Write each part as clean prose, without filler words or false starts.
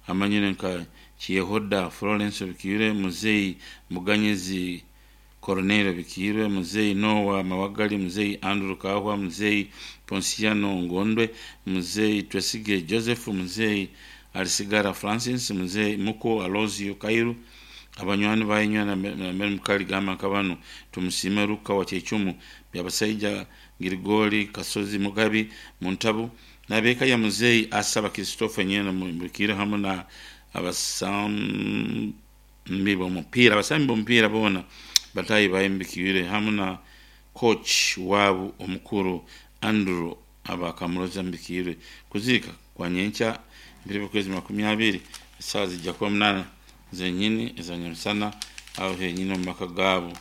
Amanyire nka Kiyehoda Florence Obikiire, Muzeyi Muganyizi Corneille Obikiire, Muzeyi Noah Mawagali, Muzeyi Andrew Kahwa, Muzeyi Ponsiano Ngondwe, Muzeyi Twesige Joseph, Muzeyi Alisigara Francis, Muzeyi Muko Alozio Kairu, abanywani bayinywa na mukali gamba nka banu Tumusiime Luka wa Kyechumu, Byabasaija Girigori Kasozi Mugabi Muntabu n'ab'eka ya Muzeyi Asaba Christopher Nyena Mubikire hamwe na abasambi b'omupiira boona bataahi baye Mubikire hamwe na coach waabo omukuru Andrew Abakamuroza Mubikire. Kuziika kwa nyenkya ebiro by'okwezi 20 esaaha zijja kuba 8 zenyini eza nyamusana aho henyini omu maka gaabo.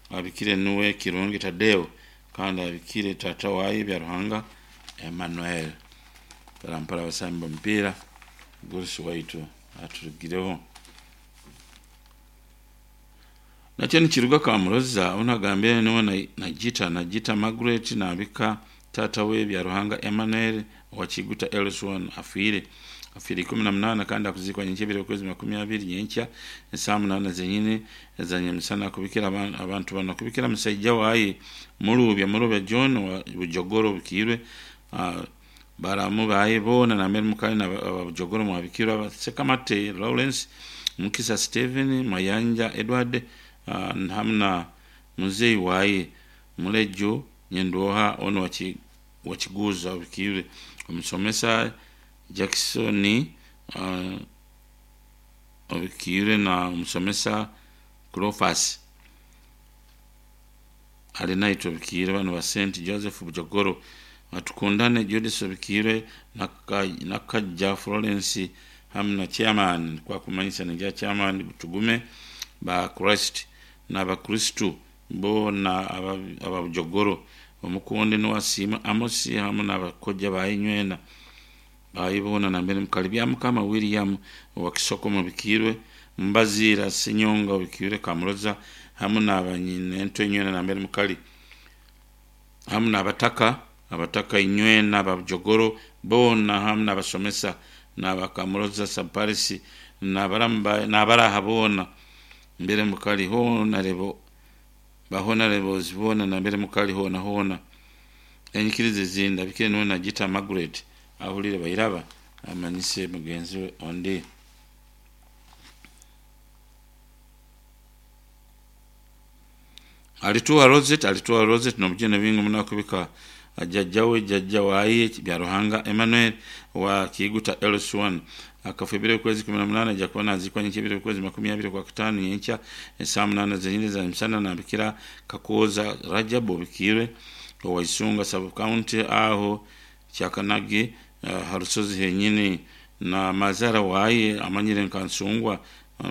Abikire nuwe Kirungi Tadeo kandi abikire taata waye Byaruhanga Emmanuel. Mpora abasambi b'omupiira Gurusi waitu aturugireho. Nakyo nikiruga Kamuroza onu agambire niwe Nagita Margaret nabika taata we Byaruhanga Emmanuel owa Kiguta LC1 afiire 18 kandi akuziikwa nyenkya ebiro by'okwezi 20 nyenkya esaaha 8 zenyini eza nyamusana akubikira abantu banu akubikira musaija waye Murubya John wa Bujogoro Obikiirwe, baramu baye boona nambere mukali na Bujogoro mwabikirwe, Sekamate Lawrence, Mukisa Stephen, Mayanja Edward hamwe na muzeyi waye Mulejo Nyendwoha onu wa Kiguuza Obikiirwe, omusomesa Jackson Obikiirwe na omusomesa Cleophas Alinaitwe Obikiirwe, banu ba St Joseph Bujogoro, Atukundane Judith Obikiirwe, Nakajja Florence hamwe na chairman kwakumanyisa ningira chairman Tugume ba Christ n'abakristu boona aba Bujogoro, omukundi Nuwasiima Amos hamwe n'abakojja baye nywena baye boona nambere mukali Byamukama William owa Kisoko Mubikiirwe, Mbaziira Senyonga Obikiirwe Kamuroza hamwe n'abanyinento nywena nambere mukali hamwe n'abataka inywena aba Bujogoro boona hamwe n'abasomesa n'abakamuroza Sub-Parish n'abaraha boona mbere mukali hoona rebo bahonarebozi boona nambere mukali hoona hoona. Enyikiriza ezindi abikire niwe Nagita Margaret ahulire bairaba amanyise mugenzi we ondi. Alituha Rosette n'obujune bingi muno akubika jjajja we jjajja waye Byaruhanga Emmanuel wa Kiguta LC1 akafa ebiro by'okwezi 18 ajja kuba naziikwa nyenkya ebiro by'okwezi 20 kwa kataano nyenkya esaaha 8 zenyini za nyamusana nabikira Kakooza Rajab Obikiirwe owa Isunga sub county aho Kyakanagi ha rusozi henyini na mazara waye amanyire nka Nsungwa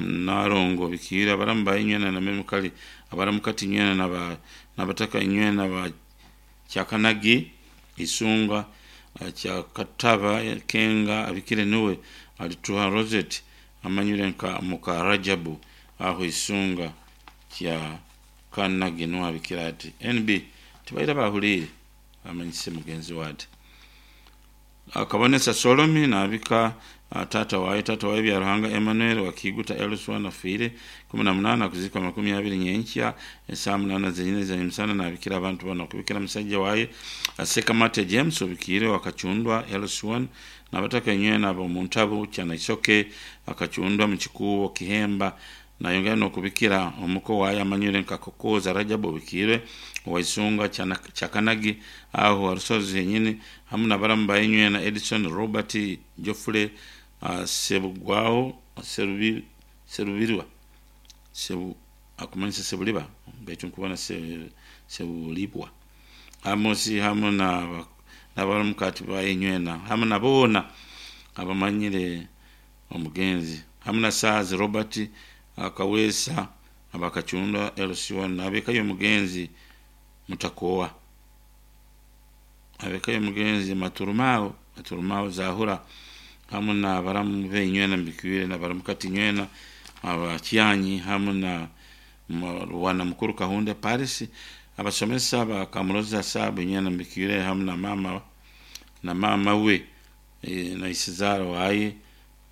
Narongo Obikiirwe, abaramu baye nywena nambere mukali abaramukati nywena n'abataka nywena ba Kyakanagi Isunga Kyakataba Kenga abikire niwe Alituha Rosette amanyire nka muka Rajabu aho Isunga Kyakanagi niwe abikira ati NB tibaira bahuliire amanyise mugenzi we ati. Akabonesa Solomi nabika tata waye Byaruhanga Emmanuel wa Kiguta LC1 afiire 18 akuzikwa 20 nyenkya esaaha 8 zenyini za nyamusana nabikira abantu bano akubikira musajja waye Sekamate James Obikiire wa Kachundwa LC1 n'abataka nywena ab'omuntabu Kyanaisoke Akachundwa mu Kikuubo Kihemba, nayongera n'okubikira omuko waye amanyire nka Kakooza Rajab Obikiirwe owa Isunga Kyakanagi aho ha rusozi henyini hamwe n'abaramu baye nywena Edison Robert Geoffrey Sebugwaho Serubirwa akumanyisa Sebuliba baitu nkubona Sebulibwa Amos hamwe n'abaramukati baye nywena hamwe na boona abamanyire omugenzi hamwe na Saazi Robert Akaweesa abakachundwa LC1 n'ab'eka y'omugenzi Mutakowa ab'eka y'omugenzi Maturumao Zahura hamwe n'abaramu b'enywena Mbikiire n'abaramukati nywena abakyanyi hamwe na Rwana Mukuru Kahunde Paris abasomesa ba Kamuroza Sabu nywena Mbikiire hamwe na mama we na isizara waye